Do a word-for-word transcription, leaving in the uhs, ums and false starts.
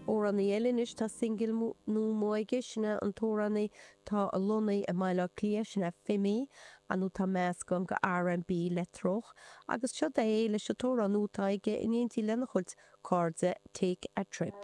Amhránaí eile anois tá singil nua amuigh aige, sin é an t-amhránaí atá lonnaithe i mBaile Átha Cliath, sin é Fimi, nó tá meascán de R and B leictreonach, agus seo é leis an t-amhrán nua atá aige in éindí lena chuid cairde, "Take a Trip".